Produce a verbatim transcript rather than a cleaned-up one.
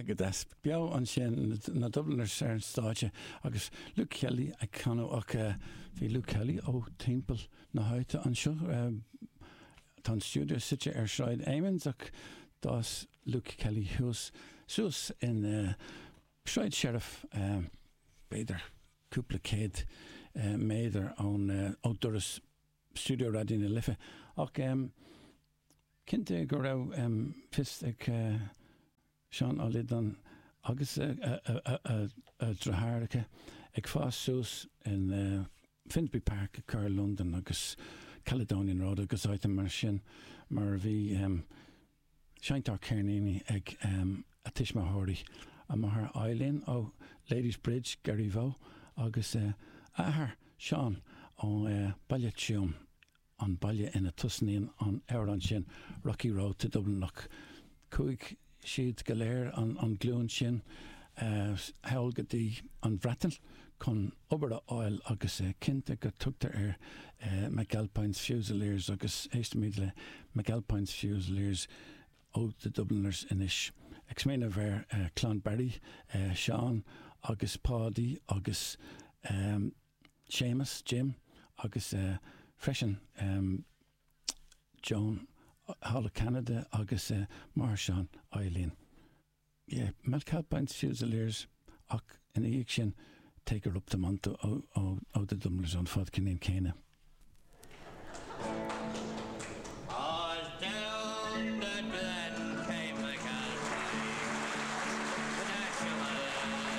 Go deas beo ansin na Dubliners ar an stáitse agus Luke Kelly ag canadh ach bhí Luke Kelly ó timpeall na háite anseo. Tá an stiúideo suite ar Sráid Amiens ach d'fhás Luke Kelly thuas suas in Sráid Sheriff b'fhéidir cúpla céad méadar ón ó doras stiúideo Raidió na Life ach cinnte go raibh fios ag Seán Ó Loideáin agus a dheartháireacha ag fás suas in Finsbury Park i gcathair Londain agus Caledonian Road agus áit mar sin mar a bhí seinnteoir ceirníní ag a tuismitheoirí a máthair Eileen ó Ladysbridge Garryvoe agus a athair Seán ó Baile Tuaim an baile ina tosnaíonn an amhrán sin Rocky Road to Dublin ach chuaigh siad go léir an, an glúin sin thall go dtí an Bhreatain chun obair a fháil agus cinnte go tugtar ar McAlpine's Fusiliers agus éistimid le McAlpine's Fusiliers ó the Dubliners anois. Ag smaoineamh ar Clann Barry, Seán agus Páidí agus um, Seamus, Jim agus uh, freisin um, Joan thall i Canada agus uh, máthair Seán Eileen. Yeah, McAlpine's Fusiliers ach ina dhiaidh sin Take Her Up the Mountain ó, ó, ó the Dubliners an fad céanna.